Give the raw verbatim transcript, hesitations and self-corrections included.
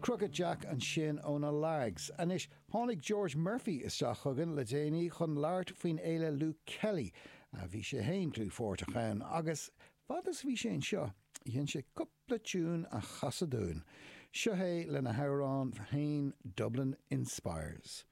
Crooked Jack ansin ó na Largs. Anois tháinig George Murphy isteach chugainn le déanaí chun labhairt faoin fhéile Luke Kelly a bhí sé féin dlúthpháirteach ann agus fad is bhí sé anseo dhein sé cúpla tiún a chasadh dúinn. Seo é lena hamhrán féin Dublin Inspires.